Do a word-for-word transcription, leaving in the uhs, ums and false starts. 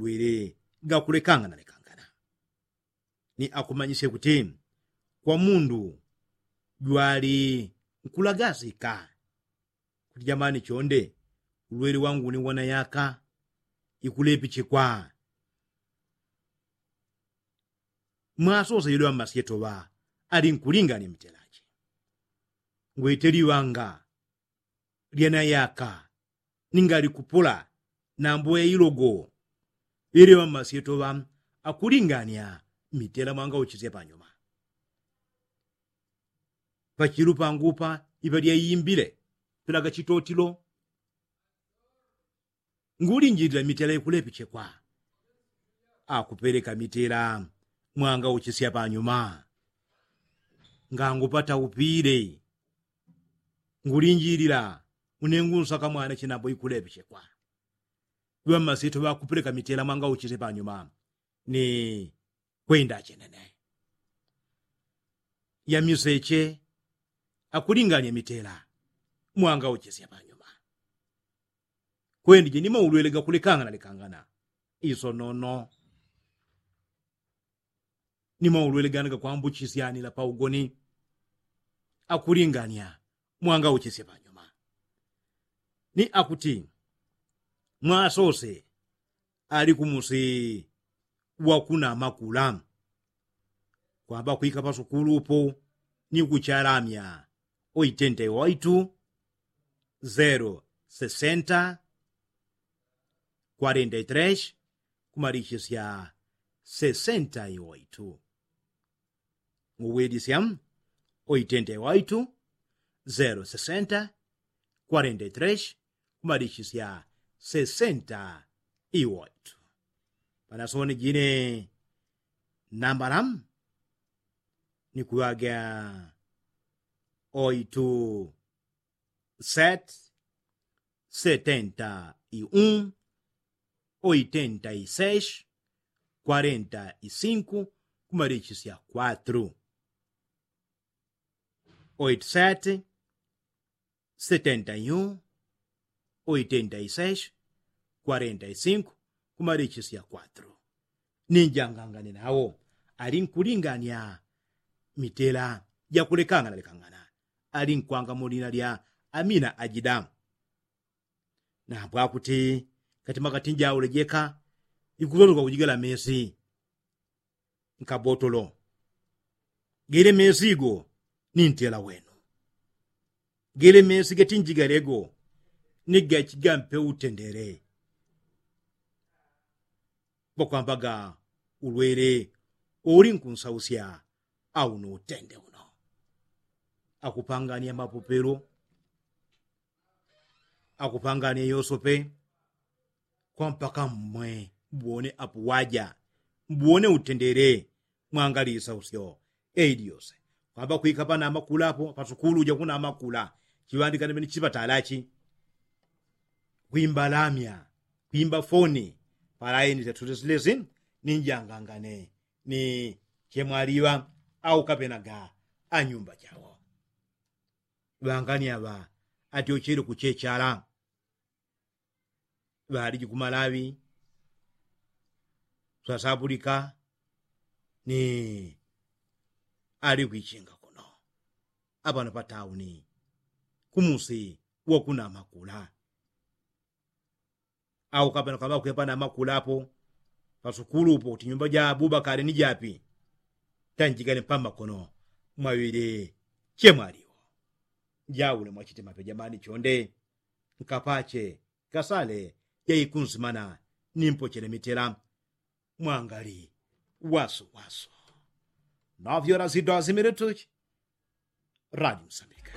wele gakulekangana lekangana. Ni akumanyisye kuti kwa mundu jwali nkulagasika kuti jamani chonde ulwele wangu ni wana yaka ikulepichikwa. Mwasose yule wammasyetoŵa ali nkulinganya mitelache ngwete liŵanga lyana yaka ninga likupula nambo yailogo. Yule wammasyetoŵa akulinganya mitela mwangauchisye panyuma. Pachilu pangupa iŵa lyaimbile pilaga chitotilo. Ngulinjilila mitela ikulepichekwa akupeleka mitela mwangauchisya panyuma. Ngangupata upile ngulinjilila unengunsaka mwana chinambo ikulepichekwa. Ŵammasyetoŵa akupeleka mitela mwangauchisye panyuma ni kwenda achenene. Yamiseche akulinganya mitela mwangauchisya panyuma. Kwendije ni maulwele gakulekangana lekangana isonono ni maulwele gana gakwambuchisyanila paugoni. Akulinganya mwangauchisya panyuma ni akuti mwasose ali kumusi wakuna makula kwamba kwika pasukulu upo ni kuchalamya. Oitenta iwaitu zero sesenta kwarenta itresh kumalichisya sesenta iwaitu. Nguwidisya oitenta iwaitu zero sesenta kwarenta itresh kumalichisya sesenta iwaitu. Panasoni jine nambala ni kuŵaga oitu set setenta i un oitenta i sesh kwarenta i sinku kumalichisya kwatru. Oitu set setenta i un oitenta i sesh kwarenta i sinku kumalichisya kwatru. Ninjangangane nawo ali nkulinganya mitela jakulekangana lekangana ali nkwanga mu lina lya amina ajida. Nambwakuti katima katinjaule jeka ikuzonzwa kujigala mesi nkabotolo. Gele mesi igo ni ntela wenu. Gele mesi gatinjigalego ni gachigampe utendele. Bakwambaga ulwele uli nkunsausya au ni utende uno. Akupangania mapopelo akupangania yosope kwa mpaka mmwe mbwone apuwaja mbwone utendele. Mwangalisa usyo eidi yose kwamba kwika pana amakula apo pasukulu uja kuna amakula chiŵandikane mene chipatalachi kwimba lamya kwimba foni palaini syatulesilesi ni njangangane ni chemwaliŵa au kapenaga anyumba chawo. Ŵangani aŵa atyochele kuchechala ŵaliji kumalaŵi swasapulika ni ali kwichinga kuno apano patauni kumusi wakuna amakula. Au kapena kwamba kwepa na makula apo pasukulu upo kuti nyumba ja abubakali ni japi tanjigane mpamakono mwaŵile chemwaliwo. Jaule mwachite mape jamani chonde nkapache kasale jaikunsimana nimpochele mitela mwangali waso waso. Novyo lazido azimile tuchi. Radi msambika.